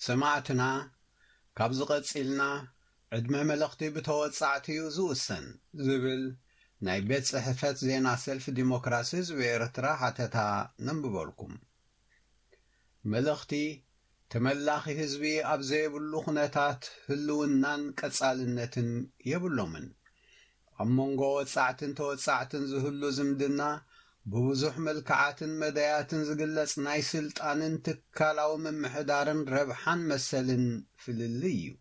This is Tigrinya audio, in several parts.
ሰማዕትና፣ ካብዚ ቀጺልና ዕድመ መለኽቲ ብተወጻዕቲ እዩ ዝውሰን ዝብል ናይ ቤት ጽሕፈት ዜና ሰልፊ ዲሞክራሲ ህዝቢ ኤርትራ ሓተታ ነንብበልኩም። መለኽቲ ተመላኺ ህዝቢ ኣብ ዘይብሉ ኩነታት ህልውናን ቀጻልነትን የብሎምን። ኣብ መንጎ ወጻዕትን ተወጻዕትን ዝህሉ ዝምድና ብብዙሕ መልክዓትን መዳያትን ዝግለጽ ናይ ስልጣንን ትካላዊ ምምሕዳርን ረብሓን መሰልን ፍልልይ እዩ።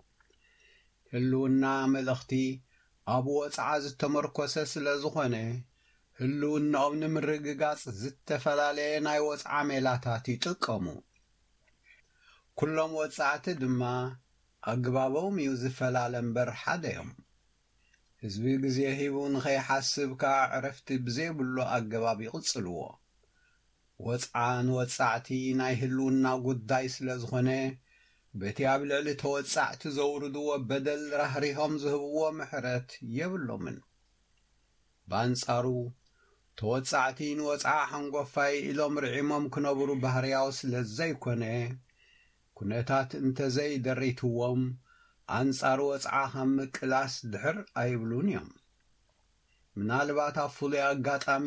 ህልውና መለኽቲ ኣብ ወጽዓ ዝተመርኮሰ ስለ ዝኾነ፣ ህልውናኦም ንምርግጋጽ ዝተፈላለየ ናይ ወጽዓ ሜላታት ይጥቀሙ። ኩሎም ወጻዕቲ ድማ ኣግባቦም እዩ ዝፈላለ እምበር ሓደ እዮም። ህዝቢ ግዜ ሂቡ ንኸይሓስብ ከኣ ዕረፍቲ ብዘይብሉ ኣገባብ ይቕጽልዎ። ወጽዓ ንወጻዕቲ ናይ ህልውና ጉዳይ ስለ ዝኾነ፣ በቲ ኣብ ልዕሊ ተወጻዕቲ ዘውርድዎ በደል ራህሪሆም ዝህብዎ ምሕረት የብሎምን። ብኣንጻሩ፣ ተወጻዕቲ ንወጽዓ ሓንጎፋይ ኢሎም ርዒሞም ክነብሩ ባህርያዊ ስለ ዘይኮነ፣ ኩነታት እንተዘይደሪትዎም፣ ኣንጻር ወጽዓ ካብ ምቅላስ ድሕር ኣይብሉን እዮም። ምናልባት ኣብ ፍሉይ ኣጋጣሚ፣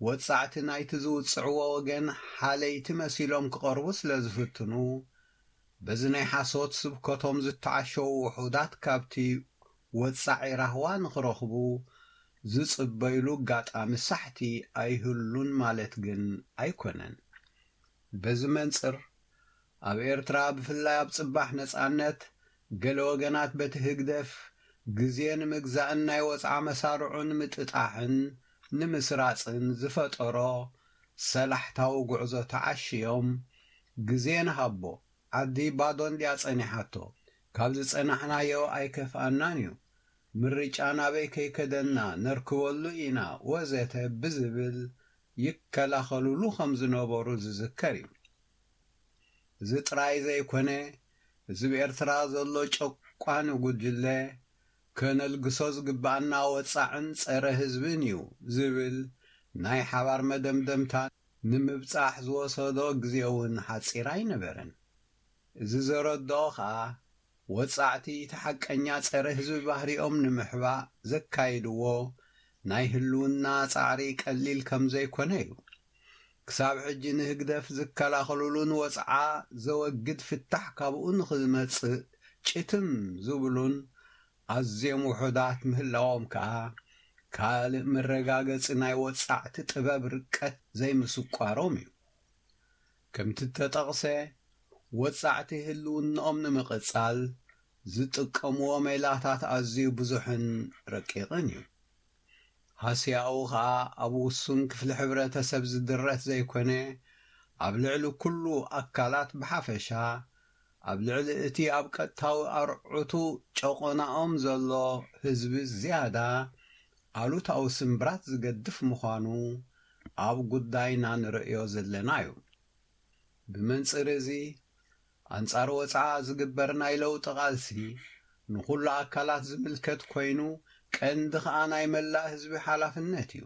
ወጻዕቲ ናይቲ ዝውጽዕዎ ወገን ሓለይቲ መሲሎም ክቐርቡ ስለ ዝፍትኑ፣ በዚ ናይ ሓሶት ስብከቶም ዝተዓሸዉ ውሑዳት ካብቲ ወጻዒ ራህዋ ንኽረኽቡ ዝጽበይሉ ኣጋጣሚ ሳሕቲ ኣይህሉን ማለት ግን ኣይኮነን። በዚ መንጽር፣ ኣብ ኤርትራ ብፍላይ ኣብ ጽባሕ ነጻነት፣ ገለ ወገናት በቲ ህግደፍ ግዜ ንምግዛእን ናይ ወጽዓ መሳርዑ ንምጥጣሕን ንምስራጽን ዝፈጠሮ ሰላሕታዊ ጉዕዞ ተዓሽዮም፣ ግዜ ንሃቦ፣ ዓዲ ባዶ እንድያ ጸኒሓቶ፣ ካብ ዝጸናሕናዮ ኣይከፍኣናን እዩ፣ ምርጫ ናበይ ከይከደና ነርክበሉ ኢና ወዘተ ብዝብል ይከላኸሉሉ ከም ዝነበሩ ዝዝከር እዩ። እዚ ጥራይ ዘይኮነ፣ እዚ ብኤርትራ ዘሎ ጨቋኒ ጉጅለ ከነልግሶ ዝግባኣና ወጻዕን ጸረ ህዝብን እዩ ዝብል ናይ ሓባር መደምደምታ ንምብጻሕ ዝወሰዶ ግዜ እውን ሓጺር ኣይነበረን። እዚ ዘረድኦ ኸኣ፣ ወጻዕቲ እቲ ሓቀኛ ጸረ ህዝቢ ባህሪኦም ንምሕባእ ዘካይድዎ ናይ ህልውና ጻዕሪ ቀሊል ከም ዘይኮነ እዩ። ክሳብ ሕጂ ንህግደፍ ዝከላኸሉሉን ወጽዓ ዘወግድ ፍታሕ ካብኡ ንኽመጽእ ጭትም ዝብሉን ኣዝዮም ውሑዳት ምህላዎም ከኣ፣ ካልእ መረጋገጺ ናይ ወጻዕቲ ጥበብ ርቀት ዘይምስቋሮም እዩ። ከምቲ እተጠቕሰ፣ ወጻዕቲ ህልውናኦም ንምቕጻል ዝጥቀምዎ ሜላታት ኣዝዩ ብዙሕን ረቂቕን እዩ። ሃስያኡ ኸኣ ኣብ ውሱን ክፍሊ ሕብረተሰብ ዝድረት ዘይኮነ፣ ኣብ ልዕሊ ኩሉ ኣካላት ብሓፈሻ፣ ኣብ ልዕሊ እቲ ኣብ ቀጥታዊ ኣርዑቱ ጨቖናኦም ዘሎ ህዝቢ ዝያዳ ኣሉታዊ ስምብራት ዝገድፍ ምዃኑ ኣብ ጉዳይና ንርእዮ ዘለና እዩ። ብመንጽር እዚ፣ ኣንጻር ወጽዓ ዝግበር ናይ ለውጢ ቃልሲ ንኹሉ ኣካላት ዝምልከት ኮይኑ፣ ቀንዲ ኸኣ ናይ መላእ ህዝቢ ሓላፍነት እዩ።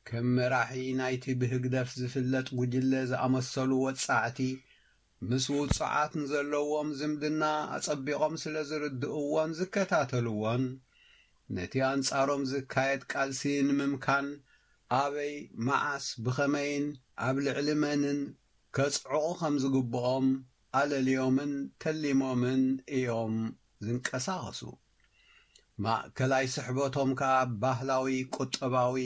ከም መራሒ ናይቲ ብህግደፍ ዝፍለጥ ጉጅለ ዝኣመሰሉ ወጻዕቲ፣ ምስ ውጹዓት ንዘለዎም ዝምድና ኣጸቢቖም ስለ ዝርድእዎን ዝከታተልዎን፣ ነቲ ኣንጻሮም ዝካየድ ቃልሲ ንምምካን ኣበይ፣ መዓስ፣ ብኸመይን ኣብ ልዕሊ መንን ከጽዕቑ ከም ዝግብኦም ኣለልዮምን ተሊሞምን እዮም ዝንቀሳቐሱ። ማእከላይ ስሕበቶም ከኣ ባህላዊ፣ ቁጠባዊ፣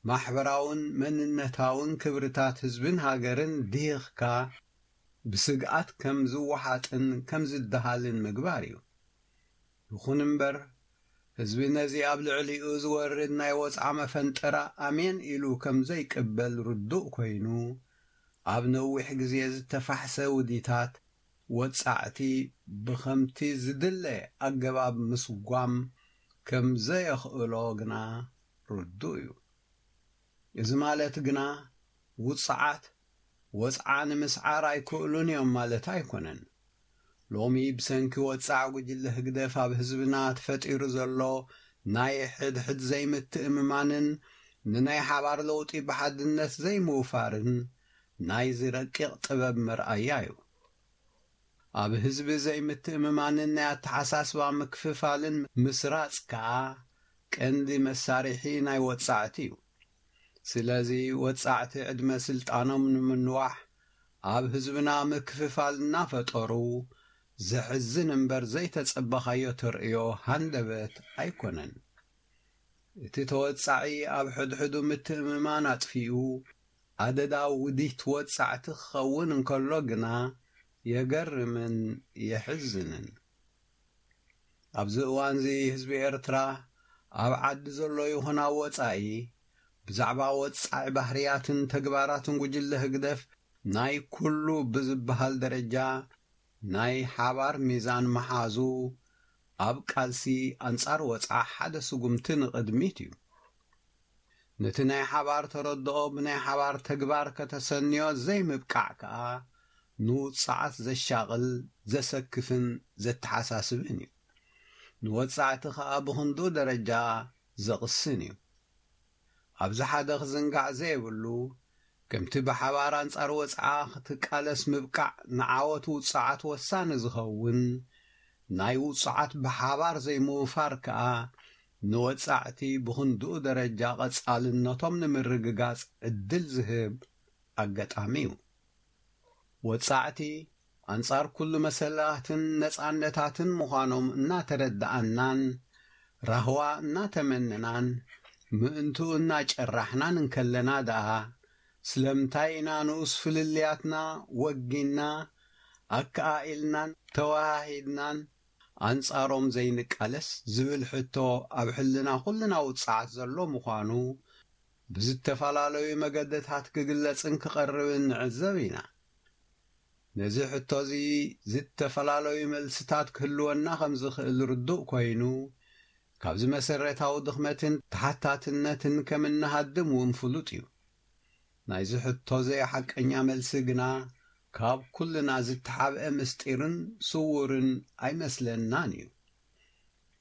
ማሕበራውን መንነታውን ክብርታት ህዝብን ሃገርን ድሂኽካ ብስግኣት ከም ዝወሓጥን ከም ዝደሃልን ምግባር እዩ። ይኹን እምበር፣ ህዝቢ ነዚ ኣብ ልዕሊኡ ዝወርድ ናይ ወጽዓ መፈንጠራ ኣሜን ኢሉ ከም ዘይቅበል ርዱእ ኮይኑ፣ ኣብ ነዊሕ ግዜ ዝተፋሕሰ ውዲታት ወጻዕቲ ብኸምቲ ዝድለ ኣገባብ ምስጓም ከም ዘየኽእሎ ግና ርዱእ እዩ። እዚ ማለት ግና ውጽዓት ወጽዓ ንምስዓር ኣይክእሉን እዮም ማለት ኣይኮነን። ሎሚ ብሰንኪ ወጻዕ ጉጅለ ህግደፍ ኣብ ህዝብና ተፈጢሩ ዘሎ ናይ ሕድሕድ ዘይምትእምማንን ንናይ ሓባር ለውጢ ብሓድነት ዘይምውፋርን ናይዚ ረቂቕ ጥበብ መርኣያ እዩ። ኣብ ህዝቢ ዘይምትእምማንን ናይ ኣተሓሳስባ ምክፍፋልን ምስራጽ ከኣ ቀንዲ መሳርሒ ናይ ወጻዕቲ እዩ። ስለዚ ወጻዕቲ ዕድመ ስልጣኖም ንምንዋሕ ኣብ ህዝብና ምክፍፋል እናፈጠሩ ዘሕዝን እምበር ዘይተጸበኻዮ ተርእዮ ሃንደበት ኣይኮነን። እቲ ተወጻዒ ኣብ ሕድሕዱ ምትእምማን ኣጥፊኡ ኣደዳ ውዲት ወጻዕቲ ክኸውን እንከሎ ግና የገርምን የሕዝንን። ኣብዚ እዋንዚ ህዝቢ ኤርትራ ኣብ ዓዲ ዘሎ ይኹን ኣብ ወጻኢ ብዛዕባ ወጻዒ ባህርያትን ተግባራትን ጉጅለ ህግደፍ ናይ ኩሉ ብዝበሃል ደረጃ ናይ ሓባር ሚዛን መሓዙ ኣብ ቃልሲ ኣንጻር ወጻዓ ሓደ ስጉምቲ ንቕድሚት እዩ። ነቲ ናይ ሓባር ተረድኦ ብናይ ሓባር ተግባር ከተሰንዮ ዘይምብቃዕ ከኣ ንውጽዓት ዘሻቕል፣ ዘሰክፍን ዘተሓሳስብን እዩ። ንወጻዕቲ ከኣ ብኽንድኡ ደረጃ ዘቕስን እዩ። ኣብዚ ሓደ ክዝንጋዕ ዘይብሉ፣ ከምቲ ብሓባር ኣንጻር ወጽዓ ክትቃለስ ምብቃዕ ንዓወት ውጽዓት ወሳኒ ዝኸውን፣ ናይ ውጽዓት ብሓባር ዘይምውፋር ከኣ ንወጻዕቲ ብኽንድኡ ደረጃ ቀጻልነቶም ንምርግጋጽ ዕድል ዝህብ ኣጋጣሚ እዩ። ወጻዕቲ ኣንጻር ኩሉ መሰላትን ነጻነታትን ምዃኖም እናተረድኣናን ራህዋ እናተመነናን ምእንትኡ እናጨራሕናን እንከለና ደኣ ስለምንታይ ኢና ንኡስ ፍልልያትና ወጊና ኣከኣኢልናን ተወሃሂድናን ኣንጻሮም ዘይንቃለስ ዝብል ሕቶ ኣብ ሕልና ኩልና ውጽዓት ዘሎ ምዃኑ ብዝተፈላለዩ መገድታት ክግለጽን ክቐርብን ንዕዘብ ኢና። ነዚ ሕቶ እዚ ዝተፈላለዩ መልስታት ክህልወና ከም ዝኽእል ርዱእ ኮይኑ፣ ካብዚ መሰረታዊ ድኽመትን ተሓታትነትን ከም እንሃድም እውን ፍሉጥ እዩ። ናይዚ ሕቶ ዘይሓቀኛ መልሲ ግና ካብ ኩልና ዝተሓብአ ምስጢርን ስዉርን ኣይመስለናን እዩ።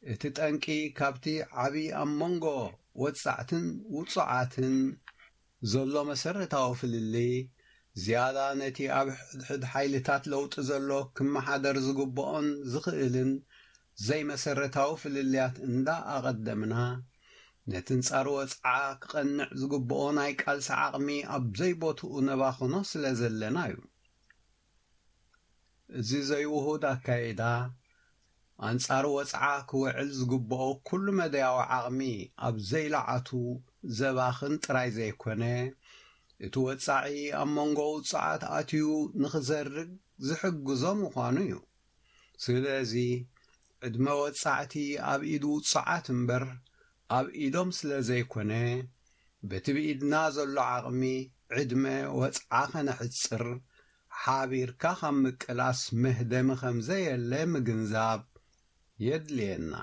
እቲ ጠንቂ ካብቲ ዓቢ ኣብ መንጎ ወጻዕትን ውጹዓትን ዘሎ መሰረታዊ ፍልልይ ዝያዳ ነቲ ኣብ ሕድሕድ ሓይልታት ለውጢ ዘሎ ክመሓደር ዝግብኦን ዝኽእልን ዘይመሰረታዊ ፍልልያት እንዳ ኣቐደምና፣ ነቲ ንጻር ወጽዓ ክቐንዕ ዝግብኦ ናይ ቃልሲ ዓቕሚ ኣብ ዘይቦትኡ ነባኽኖ ስለ ዘለና እዩ። እዚ ዘይውሁድ ኣካይዳ ኣንጻር ወጽዓ ክውዕል ዝግብኦ ኩሉ መዳያዊ ዓቕሚ ኣብ ዘይለዓቱ ዘባኽን ጥራይ ዘይኮነ፣ እቲ ወጻዒ ኣብ መንጎ ውጹዓት ኣትዩ ንኽዘርግ ዝሕግዞ ምዃኑ እዩ። ስለዚ ዕድመ ወጻዕቲ ኣብ ኢድ ውጹዓት እምበር ኣብ ኢዶም ስለ ዘይኮነ፣ በቲ ብኢድና ዘሎ ዓቕሚ ዕድመ ወጽዓ ከነሕጽር ሓቢርካ ካብ ምቅላስ መህደሚ ከም ዘየለ ምግንዛብ የድልየና።